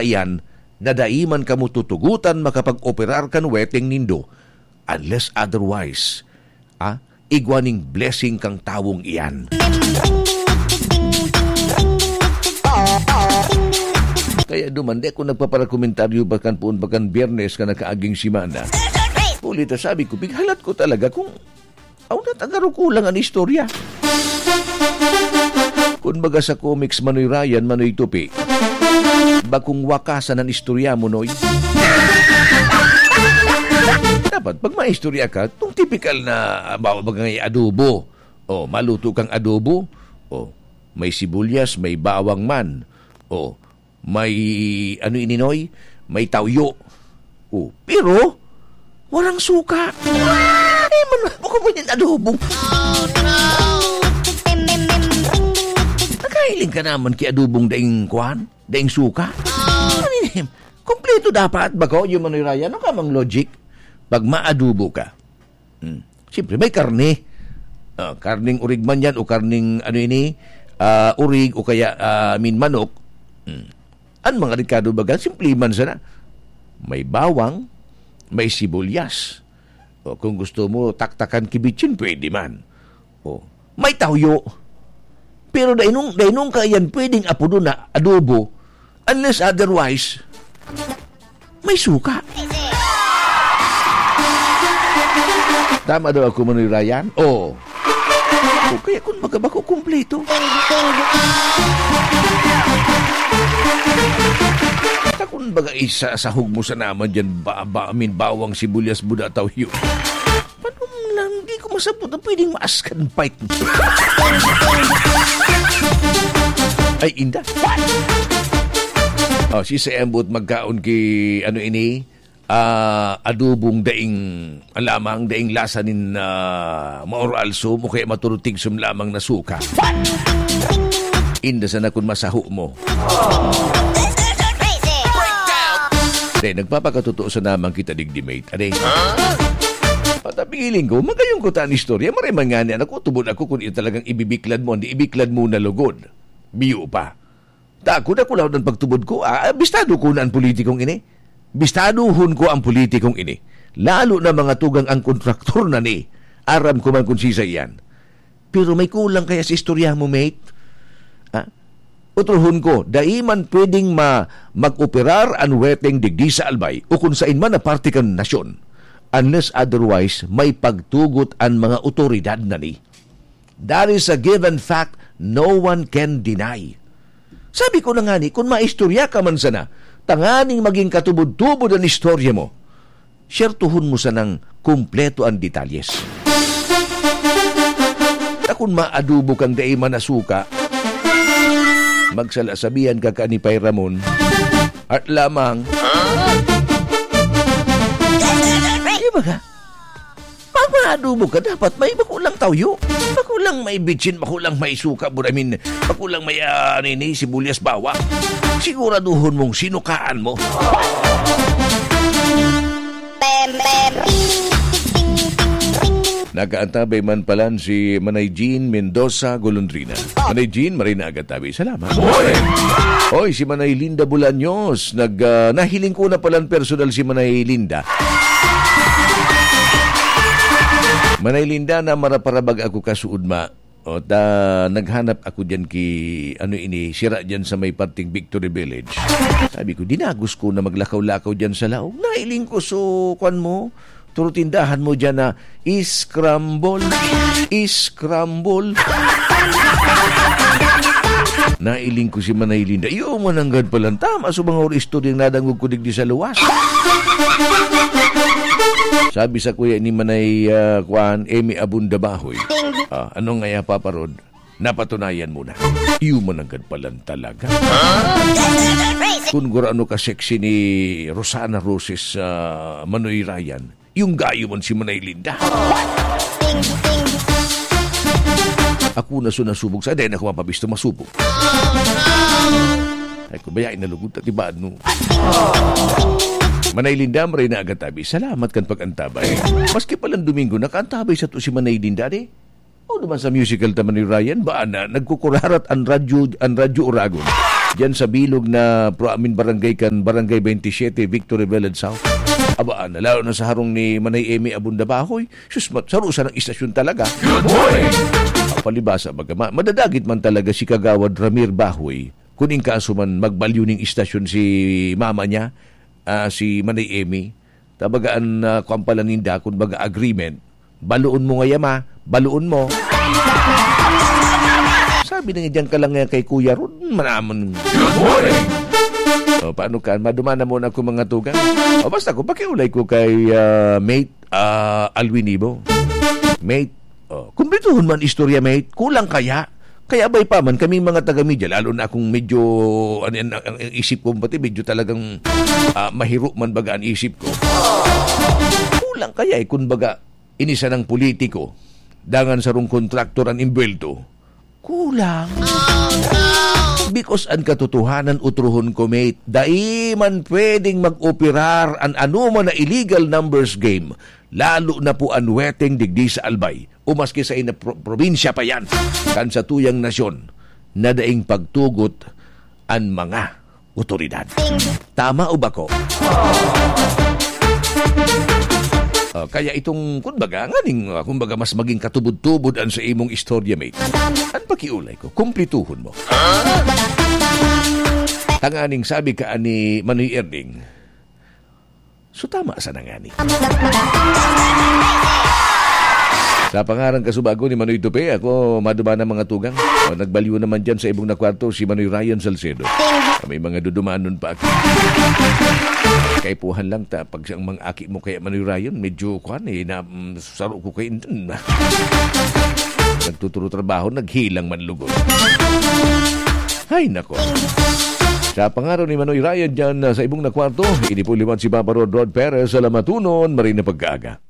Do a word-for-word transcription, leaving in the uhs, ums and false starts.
iyan na dai man kamo tutugotan makapag-operar kan weteng nindo, unless otherwise, ah, igwa ning blessing kang tawong iyan. Kaya duman, di ako nagpaparakomentaryo bakan poon, bakan Biyernes ka nakaaging semana. Huli ta, sabi ko, pighalat ko talaga kung aw, nat-, agaro kulang an istorya. Kun baga sa comics, Manoy Ryan, Manoy Tupi, bakong wakasan an istorya mo, Noy. Dapat, pag maistorya ka, itong tipikal na, ah, bawa baga ngay adobo. O, maluto kang adobo. O, may sibuyas, may bawang man. O, may, ano ini, Noy? May tawyo. O, pero, warang suka. Ay, man, bako mo yan adobong. Nakahiling ka naman ki adobong daing kwan? Daing suka? Ano ini? Kompleto dapat, bako, yung Manoy Ryan. Ano ka mang logic? Pag maadobo ka, Hmm. Siyempre, may karne. Ah, karneng urig man yan o karneng, ano ini, ah, urig o kaya, ah, I mean, manok. Hmm. An mga rekado baga, simple man sana. May bawang, may sibuyas. O, kung gusto mo, taktakan ki bitsin, pwede man. O, may tawyo. Pero dainong, dainong ka yan pwedeng apodon na adobo, unless otherwise, may suka. Tama daw ako, Manoy Ryan? Oo. O, kaya kun baga bako kumpleto. Ta kun baga isa, sahog mo sa naman dyan, ba, ba, I mean, bawang, sibuyas, buda, tawyo. Paano lang, di ko masabot na pwedeng maaskan fight. Ay, inda. What? O, si Sembot magkaon ki, ano ini? Ah, adobong daing, lamang daing lasa nin, ah, maoro alsom o kaya maturutig sum lamang na suka. What? Inda sana kun masaho mo. Dahil nagpapakatotoo sa namang kita digdi, mate. Ade? Patapiling ko, magayong ko ta an istorya. Maray man ngani, anak ko, tubod ako kun iyo talagang ibibiklad mo, hindi ibiklad mo na lugod. Biyo pa. Takot ako laod ang pagtubod ko. Ah, bistado ko na ang politikong ini. Bistaduhon ko ang politikong ini. Lalo na mga tugang ang kontraktor na ni. Aram ko man kung sisay yan. Pero may kulang kaya sa istorya mo, mate? Ah? Utrohon ko, dai man pwedeng ma-, mag-operar an weteng digdi sa Albay o kung sain man na parte kan nasyon, unless otherwise may pagtugot an mga otoridad na ni. That is a given fact no one can deny. Sabi ko na nga ni, kung maistorya ka man sana, tanganing maging katubod-tubod an istorya mo, syertuhon mo sanang kumpleto an detalyes. Ta kun maadobo kang dai man na suka, magsalasabihan ka kan ni Pay Ramon. Art lamang. Di ba ka? Pag maadobo ka, dapat may bako lang tawyo. Bako lang may bitsin, bako lang may suka, but I mean, bako lang may, ah, ano ini, sibuyas, bawang. Siguraduhon mong sinukaan mo. Nakaantabay man palan si Manay Jean Mendoza Golondrina. Manay Jean, maray na aga tabi. Salamat. Oy, si Manay Linda Bolaños, nag, ah, nahiling ko na palan personal si Manay Linda. Manay Linda, na maraparabag ako kasuod, ma. O, ta, naghanap ako diyan ki, ano ini, sira diyan sa may parting Victory Village. Sabi ko, dinagos ko na maglakaw-lakaw diyan sa laog. Nailing ko, so, kwan mo, turo tindahan mo diyan na scramble, scramble. Nailing ko si Manay Linda. Iyo, mananggad palan. Tama, so mga ori istoryang nadangog ko digdi sa luwas. Sabi sa kuya ni Manay, ah, kuan, Emmy Abunda Bahoy. Ah, ano nga ya, Papa Rod? Napatunayan mo na. Iyo mananggad palan talaga. Kun gurano ka sexy ni Rosana Roses, ah, Manoy Ryan, yung gayo man si Manay Linda. Ako na so nasubog sa, dahil ako mapabisto masubog. Ay, kung bayain na lugod, tatibaad mo. Manay Linda, maray na agad tabi. Salamat kan pag-antabay. Maski palang Domingo, nakaantabay sato si Manay Linda, di? O, duman sa musical ta man ni Ryan, ba na, nagkukurarat ang radyo, ang radyo Oragon. diyan sa bilog na pro-, I mean, barangay kan, Barangay twenty-seven, Victory Village South. Aba, na, lalo na sa harong ni Manay Emmy Abunda Bahoy. Sus, mat-, saro sa ng istasyon talaga. Good morning! Palibasa, baga, ma-, madadagit man talaga si Kagawad Ramir Bahoy. Kung in kaso man, magbalyo ning istasyon si mama niya, ah, si Manay Emmy. Tabaga an, ah, kwan pala ninda, kun baga agreement, "Baloon mo ngaya, ma, baloon mo." Sabi na nga diyan ka lang nga kay Kuya Ron, manaman. Good morning! O, paano ka? Maduma na muna ako, mga tugang. O, basta ko, pakiulay ko kay, ah, Mate, ah, Alwin Ibo. Mate, o, kumplituhon man istorya, mate. Kulang kaya? Kaya abay pa man, kaming mga taga-media, lalo na akong medyo, ano yan, ang, ang isip ko pati, medyo talagang, ah, mahiro man baga ang isip ko. Kulang kaya eh, kun baga, ini sanang politiko, dangan sarong kontraktor an imbwelto. Kulang. Because an katotohanan, utrohon ko, mate, dai man pwedeng mag-operar an anoman na illegal numbers game, lalo na po an weteng digdi sa Albay, o maski sa ina pro-, probinsya pa yan, kan sa tuyang nasyon na daing pagtugot an mga otoridad. Tama o bako? Ah, kaya itong, kumbaga, nganing, ah, kumbaga, mas maging katubod-tubod an sa imong istorya, mate. An pakiulay ko, kumplituhon mo. Tanganing sabi ka ani Manoy Erding, so tama sana ngani. Sa pangaran kasubago ni Manoy Tupe, ako maduma na mga tugang. O, nagbalyo naman dyan sa ibong na kwarto si Manoy Ryan Salcedo. May mga dudumanon pa ako. Kaipuhan lang ta, pag siyang mga aki mo kaya Manoy Ryan, medyo kwan eh, na, mm, saro ko kay Nagtuturo trabaho, naghilang man lugod. Ay, nako. Sa pangaran ni Manoy Ryan dyan, ah, sa ibong na kwarto, ini po liwat si Papa Rod Rod Perez sa Lamatunon, maray na pagkaaga.